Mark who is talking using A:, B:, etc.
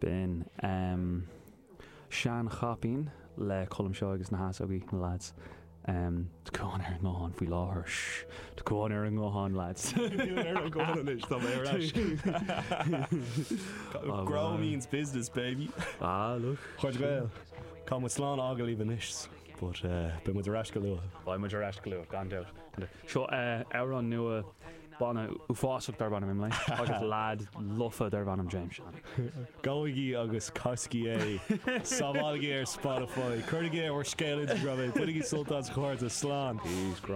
A: B'in Seanchaipín le Colm Seoighe agus na hEasógaí, na lads. Tá Cuán ar an nguthán faoi láthair. Shh! Tá Cuán ar an nguthán, lads.
B: Níl mé ar an nguthán anois, tá mé ar ais. Grow means business, baby.
A: Ah, look.
B: A chairde Gael, caithfidh muid slán a fhágáil libh anois, but beidh muid ar ais go luath.
A: Beidh muid ar ais go luath, gan dabht. Seo amhrán nua. Banna uafásach darb ainm Imlé agus leaid lofa darb ainm James Shannon.
B: Gabhaigí agus casaigí é. Sábhálaigí ar Spotify. Cuirigí ar bhur scéal Instagram é. Bainigí sult as a chairde. Slán.
A: Peace. Grá.